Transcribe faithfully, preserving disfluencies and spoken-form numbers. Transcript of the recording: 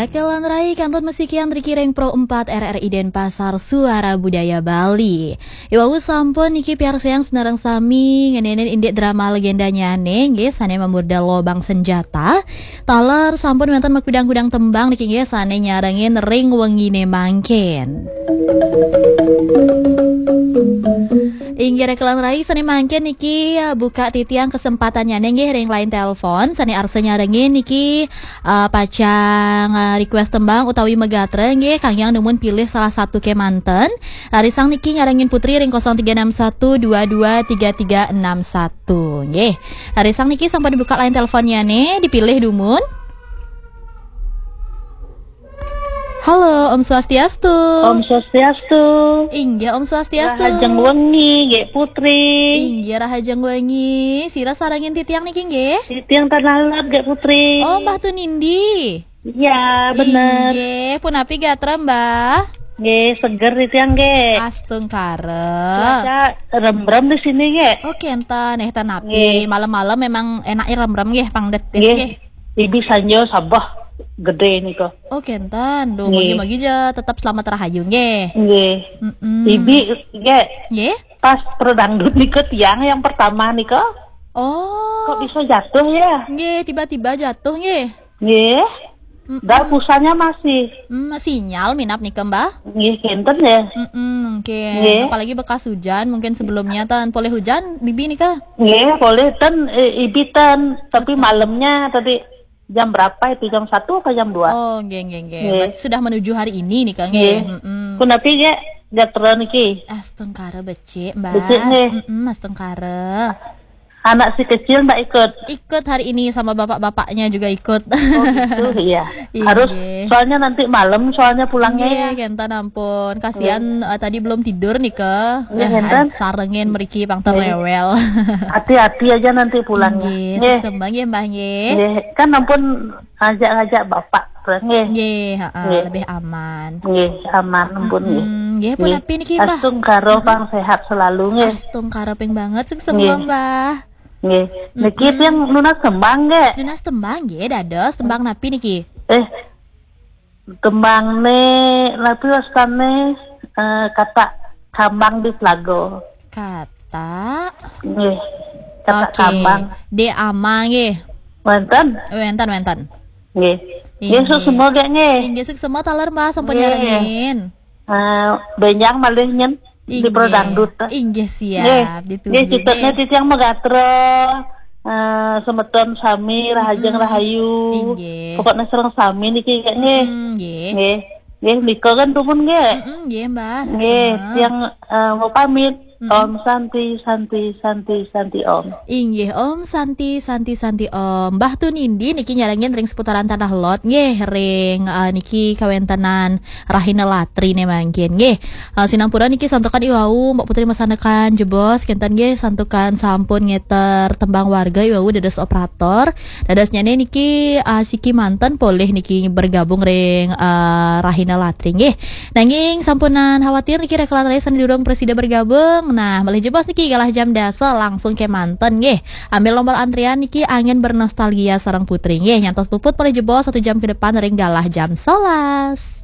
Kakelan rai kantun masikian riki ring Pro empat R R I Denpasar, Suara Budaya Bali. Iwau sampun niki piarsayang sinareng sami ngeninin indik drama legendanyane nggih sane mamurda Lobang Senjata. Taler sampun wenten makudang-kudang tembang niki nggih sane nyarengin ring wengine mangkin. Inggih kakelan rai sane mangkin niki, eh, buka titiang kesempatannyane nggih ring line telepon sane arsa nyarengin niki, eh, pacang, eh, request tembang utawi magatra nggih kangge numun pilih salah satu kemanten. Rarisang niki nyarengin Putri ring kosong tiga enam satu dua dua tiga tiga enam satu nggih. Rarisang niki sampun dibuka line teleponnyane, dipilih dumun. Halo, Om Swastiastu. Om Swastiastu. Inggih, Om Swastiastu. Rahajeng wengi, Gek Putri. Inggih, rahajeng wengi. Sira sarengin titiang niki nggih? Titiang Tanah Lot, Gek Putri. Oh, Mbah Tunindi. Iya, bener. Inggih, punapi gatra, Mbah? Nggih, seger titiang, Gek. Astungkara. Cuaca rembrem di sini, Gek. Oh, kenten, eh, ten napi. Nggih. Malam-malam memang enaknya rembrem nggih, pang detis nggih. Nggih. Ibi sanjo sabah gede nika. Oh, kenten. Duh, nggih. Mugi-mugi ja tetep selamat rahayu nggih. Nggih. Mm-mm. Ibi, nggih. Nggih? Pas Pro Dangdut nika tiang yang pertama nika. Oh. Kok bisa jatuh ya? Nggih, tiba-tiba jatuh nggih. Nggih. Mm-mm. Dah pulsanya masih. Hmm, sinyal minap nika, Mbah? Nggih, kenten ya. Mm-mm, mungkin. Nggih. Apalagi bekas hujan, mungkin sebelumnya ten polih hujan, Bibi nika? Nggih, polih ten, eh, Ibi ten. Tapi betul. Malamnya tadi jam berapa itu? Jam satu atau jam dua? Oh, nggih, nggih, nggih. Nggih. Berarti sudah menuju hari ini nika, nggih. Nggih. Mm-mm. Punapi, Gek, gatra niki? Astungkara becik, Mbah. Becik, nggih. Mm-mm, astungkara. Anak si kecil ndak ikut? Ikut hari ini sama bapak-bapaknya juga ikut. Oh, gitu, iya. Iya, harus, nggih. Soalnya nanti malam, soalnya pulangnya nggih, ya. Kenten ampun. Kasihan, nggih. Eh, tadi belum tidur nika. Nggih, eh, kenten. Sarengin mriki pang nggih. Terewel. Hati-hati aja nanti pulangnya. Nggih, nggih. Suksma nggih, Mbah, nggih. Nggih, kan ampun ngajak-ngajak bapak, nggih. Nggih, heeh, nggih. Lebih aman. Nggih, aman, ampun, nggih. Mm-mm, nggih, punapi niki, Mbah? Astungkara pang sehat selalu, nggih. Astungkara ping banget, suksma, nggih. Mbah. Nggih. Niki mm-mm. Tiang nunas tembang, nggih. Nunas tembang, nggih, dados tembang napi niki? Eh, tembang ne, napi wastane, eh, Kata Kambang di Telago. Kata? Nggih. Kata oke. Kambang. De Ama, nggih. Wenten? Wenten, wenten. Nggih. Nggih, inggih. Suksma, nggih. Inggih, suksma taler, Mbah, sampun nggih. Nyarengin. Eh, benjang malih nyen di inggih. Pro Dangdut. Inggih, siap. Nggih. Ditunggu, nggih, citutnya nggih. Titiang magatra, eh, semeton sami, rahajeng mm-mm. Rahayu. Inggih. Pokoknya sareng sami niki, nggih. Mm-mm, nggih. Nggih. Nggih, nika kan dumun, nggih. Mm-mm, nggih, Mbah. Nggih, suksma. Tiang, eh, mau pamit. Mm-mm. Om Santi, Santi, Santi, Santi Om. Inggih, Om Santi, Santi, Santi Om. Mbah Tunindi niki nyarengin ring seputaran Tanah Lot, nggih, ring, eh, niki kawentenan Rahina Latri ne mangkin, nggih. Eh, sinampura niki santukan iwau, Mbak Putri masanekan jebos, kenten nggih, santukan sampun ngeter tembang warga iwau dados operator. Dadosnyane niki, eh, siki manten polih niki bergabung ring, eh, Rahina Latri, nggih. Nanging sampunan khawatir niki rekalan rai sane durung prasida bergabung. Nah, malih jebos niki galah jam dasa langsung kemanten nggih. Ambil nomor antrian niki angin bernostalgia sareng Putri nggih. Nyantos puput malih jebos satu jam ke depan ring galah jam sebelas.